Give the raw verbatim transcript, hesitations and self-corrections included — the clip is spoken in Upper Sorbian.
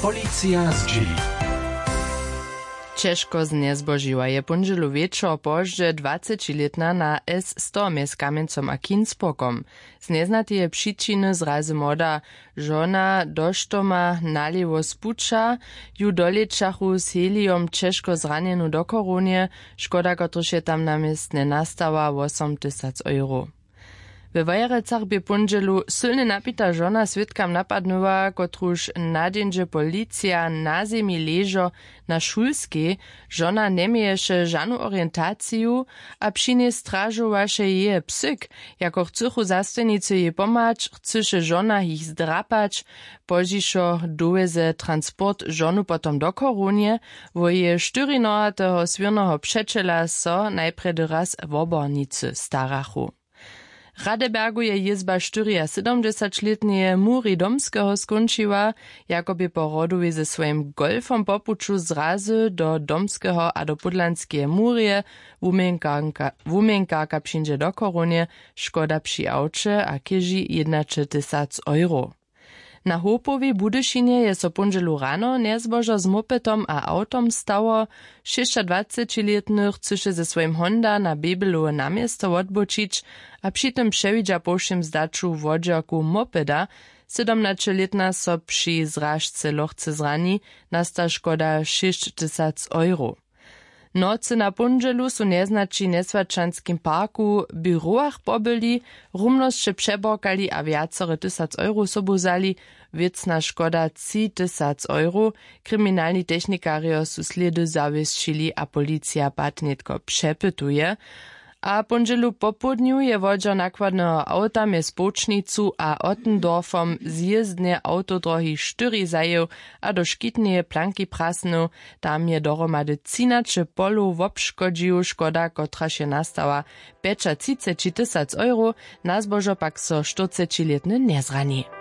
Policija zdźěli. Ćežko znjezbožiła je póndźelu wječor pozdźe dwacećilětna na S sto mjez Kamjencom a Kinsburgom. Z njeznateje přičiny zrazy młoda žona doštoma nalěwo z puća. Ju dolěćachu z helijom ćežko zranjenu do chorownje. Škoda, kotryž je tam na městnje nastała, wosomtysac euro. We Wojerecach bě póndźelu sylnje napita žona swědkam napadnyła, kotruž na dźenźe policija na zemi ležo na Šulskej. Žona njeměješe žanu orientaciju a při njej stražowaše jeje psyk. Jako chcychu zastojnicy jej pomhać, chcyše žona jich zdrapać. Pozdźišo dowjeze transport žonu potom do chorownje. Wo jeje štyri nohateho swěrneho přećela so najprjedy raz wobornicy starachu. W Radebergu je jězba štyriasydomdźesaćlětneje Muri Domskeho skónčiła. Jako bě po rodowej ze swojim golfom po puću zrazy do Domskeho a do Pódlanskeje murje, wuměnkarka wuměnkarka přińdźe do chorownje. Škoda při awće a chěži jědnaćeltysac euro. Na hopowej w Budyšinje je so póndźelu rano njezbožo z mopetom a awtom stało. Šěsćadwacećilětny chcyše ze swojim honda na běbelowe na město wotbočić a při tym přewidźa po wšěm zdaću wodźerku mopeda. Sydomnaćelětna so při zražce lochce zrani. Nasta škoda šěsćtysac euro. W nocy na póndźelu su njeznaći w njeswaćanskim parku w běrowach pobyli. Rumnosće přeborkali a wjacore tysac euro sobu wzali. Wěcna škoda tři tysac euro. Kriminalni technikarjo su slědy zawěsćili a policija pad nětko přepytuje. A póndźelu popołdnju je wodźer nakładneho awta mjez połčnicu a ottendorfom zjězdnje awtodrohi štyri zajěł a do škitneje planki prasnył. Tam je dohromady třinaće polow wobškodźił. Škoda, kotraž je nastała, pjećatřiceći tysac euro. Na zbožo pak so štyrcećilětny njezrani.